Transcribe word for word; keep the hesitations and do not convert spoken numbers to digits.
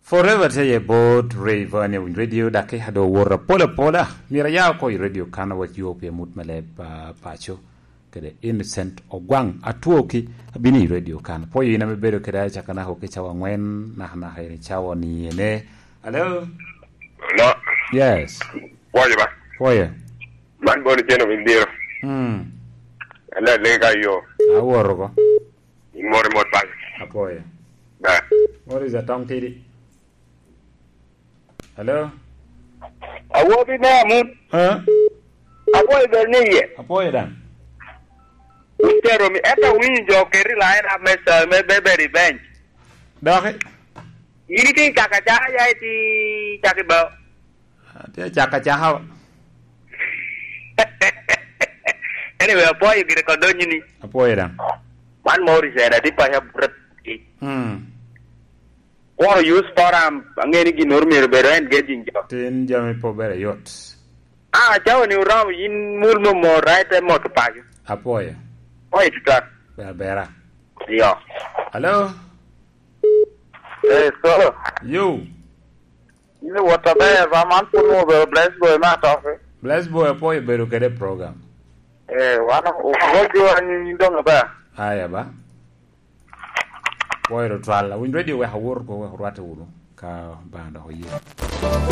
Forever tye ye bot Rayvan i radio, daki ado wor apola pola. Mira ya ko i radio kan wa yo pe mut malep, ah, pacho. Kede Innocent Ogwang Atwoki abino i radio kan. Po yina me bedo kede acaka nako ki cawa ngwen, naka naka i cawa ni ene. Hello? Hello? Yes. Pwoyo ba? Pwoyo. Man bono ceno min diro. Hmm. Ala lega yo. Aworo go. Mor, mor, bang. Apoyo. Ba. What is a tong tidi? Hello? Awobi me amun. Huh? Apoyo bel ni ye. Apoyo dan. Utero mi, eka winyo jo keri lain up me sa, me bebe revenge. Doki? Yini ti caka caka ya ti caki ba. Ti caka caka. Anyway, apoyo gire kodonyi ni. Apoyo dan. Man mor isera ti pa ya buret. Hmm. Kwaro use forum, aŋeo ni ginnoro myero bedo engaging jo. Tin jami pe obere yot. Ah, cawa ni oromo, yin mul mo mo, right, te moto paco. Apwoyo. Oye tutan. Ber bera. Yo. Hello? Eh, so. Yo. Yin wot aber, ba man pun mo bedo bless boy ma toke. Bless boy, apwoyo bedo kede program. Eh, wan, wot jo anyi dong aber. Aya ba. Pwoyo tutwal. Awinyo radio wek awor ko, wek orwatte wunu ka Obaŋa dok oye.